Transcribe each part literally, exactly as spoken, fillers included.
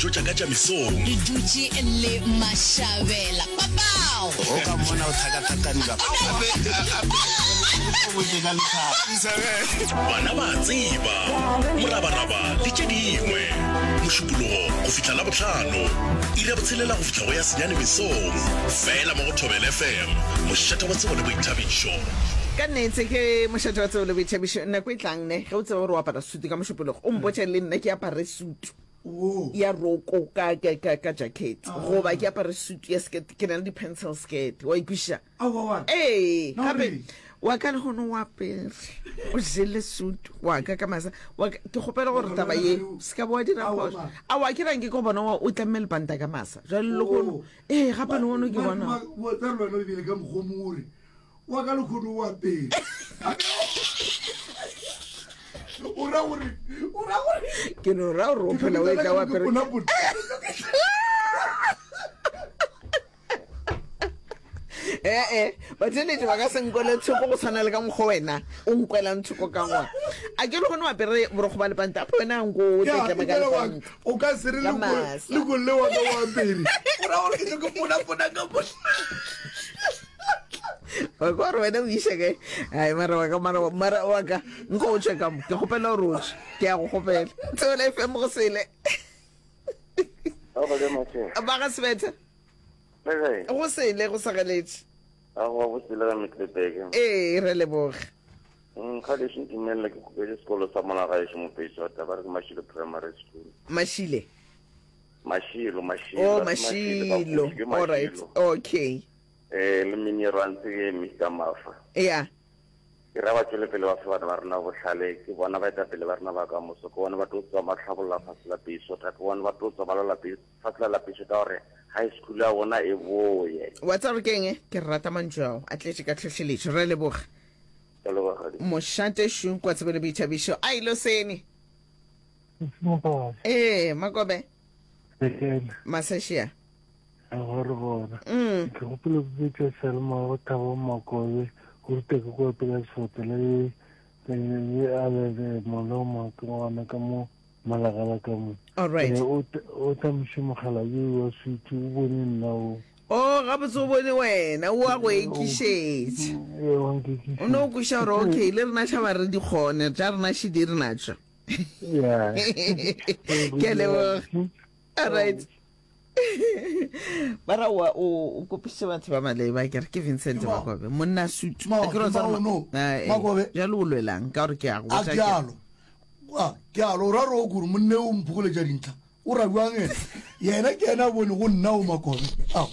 Dijo tša ka tša mesong. Re dutše le Mashabela. Papao! O ka mmona o thakathakaniwa. Bana ba a tseba. Morabaraba le tše dingwe. Mošupologo go fihla Labohlano, iri ya botshelela go fihla go ya senyane mesong. Fela mo go Thobela F M, mošate wa tsebo le boithabišo. Ka nnete ke mošate wa tsebo le boithabišo. Nako e tlang ne, ge o tseba gore o apara sutu ka Mošupologo, o mpotše le nna ke apare sutu ya roko ka, ka, ka, ka jacket, goba ke apare sutu ya skirt, ke na le di-pencil skirt, wa ikwešiša? Ee, gape wa ka lehono o apere, o jele sutu wa ka ka masa wa ka, ke kgopela gore taba ye se ka bo wa dira phošo. Aowa, ke rang ke ko bona o tlamme lepanta ka masa jwale lehono. Ee, gape lehono ke bona. Wa tsaya le wena o bile ka mokgwa o mongwe o re wa ka lekgono o apere. O ra gore, o ra gore. Ke no ra gore o phela o etla o apere. Ee, batheeletši ba ka se nkwele thoko go tshwana le ka mokgwa wena o nkwelang thoko ka gona. A ke le gone o apere borokgo ba lepanta, ape wena nko o Ya, tletlema ka efela wa- lepanta. o ka se re Ka le ko- masa. le ko le wa ka o apere. O ra gore ke tlo ke ponapona ka mo. Wa kwa gore wena o iša kae? Ai, mara wa ka, mara wa, mara wa ka, nko o tšwe ka mo. Ke kgopela gore o tšwe. Ke a go kgopela. Thobela F M go sele. Ba ga Mashe. Ba ga Sebetha. Le kae? Go sele, go segeletše. Aowa, go sele ga Middelburg. Ee, re leboge. Mm, kgale se ntumelela ke kgopetse sekolo sa mona gaešo Mopeišota, ba re ke Mashilo Primary School. Mashile? Mashilo, Mashilo. Oh, Ba re Mashilo, ba Mashilo. Mashilo, ke All right. Mashilo. Okay. Eh, le mini runs ke Mister Mafa. Yeah. Ke ra ba tšwele pele ba fe bana ba rena bohlale, ke bona baetapele ba rena ba ka moso, ke bona ba tlo tswa ba tlhabolla fase la Peisota, ke bona ba tlo tswa ba lwela Pe-, fase la Peisota gore high school ya bona e boye. Wa tseba gore ke eng? Ke rata mantšu ao, a tletše ka tlhohleletšo. Re a leboga. Ke leboga. Mošate šu kwa tsebo le boithabišo. A ilo sene. Ee, Makobe. Masešia. Go re gona. Mm. Ke gopola go bitša Selma go Thabo Makobe, go ruta ke kwa pela sefoto le le le a le le moloma ke ngwana ka mo malagala ka mo. All right. Eh, o t-, o tamiše mogala yo wa switch, o bone nna o. Oh, gabotse o bone wena, o a go ekišetša. Ee, wa nkekišetša. O no kweša gore okay, le rena tšhaba re di kgone, tša rena šidi re natšo. Yeah. Ke a leboga. All right. Ba ra wa o, o kopiše batho ba maleba, ke re ke Vincent Ke mang? Makobe, monna sutu. Ke mang? A ke re o Ke tseba mang ma- ono? Ah, eh. Makobe. Jalo o lwelang ka gore ke a go A botša ke ke re. alo. A, ke alo, o ra re o kore monne o mphokoletša dintlha. O ra bjang yena? Yena ke yena a bone go nna o Makobe. Ao.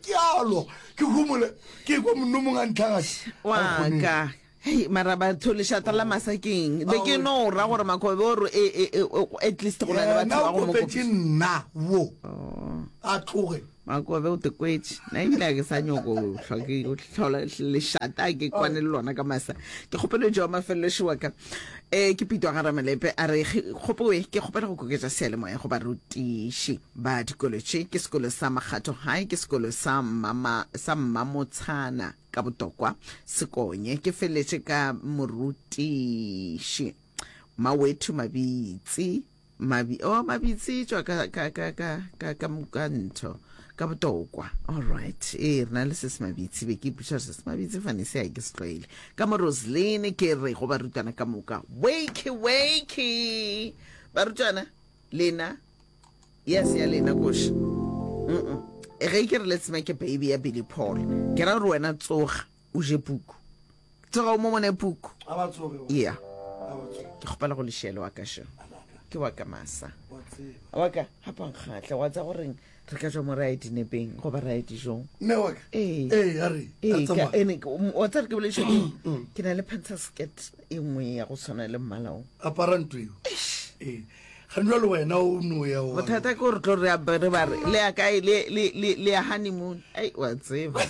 Ke alo, ke humole, ke kwa monno mongwe a ntlhagatše. Wa ka. Hei, mara batho lešata la masa ke eng? Be ke no ra gore Makobe o re, e, e, e, o, at least go na le batho Yena ba o go mo kopetše kopiša. nna wo. Oh. A tloge. Makobe o te kwetše. Nna ebile ga ke sa nyoko hlwa ke o hlola lešata ke kwane le lona ka masa. Ke kgopelo tšeo mafelelo šiwa ka. Eh, ke Pitwa ga Ramalepe a re, Ge, kgopoe, ke kgopela go koketša seyalemoya go barutiši ba dikolo tše. Ke sekolo sa Makgatho High, ke sekolo sa Mmama, sa Mmamotshana ka Botokwa, Sekonye. Ke feletše ka morutiši Mawethu Mabitsi, Mabi, oh, Mabitsi tšwa ka, ka, ka, ka, ka, ka, ka ntho, ka Botokwa. All right. Ee, re na le se se Mabitsi, be ke ipotša se se Mabitsi fane se a ke se tlwaele. Ka mo Roseline ke re go barutwana ka moka, wakey, wakey. Barutwana, lena, yes, ya lena koša. Mm-mm. Ge ke re let's make a baby ya Billy Paul, ke ra gore wena tsoga o je puku. Tsoga o mo mone puku. A ba tsoge wa. Yeah. A ba tsoge. Ke kgopela go lešele wa ka šo. Ke wa ka masa. Wa tseba. Wa ka, gape wa nkgatla, wa tsa goreng re ka tšwa mo ra ya dinepeng goba ra ya dijong. Mme wa ka? Ee. Ee, a re, Ee, a ka, tsamaya. ene, ke, um, wa tseba re ke bolediša ke eng? Ke na le pencil skirt e nngwe ya go tshwana le mmala o. Apara ntho eo. Eish. Ee. Ga jwale wena o no ya wa. Bothata ke gore tlo re a, re ba re, le ya kae, le, le, le, le ya honeymoon. Ai, wa tseba.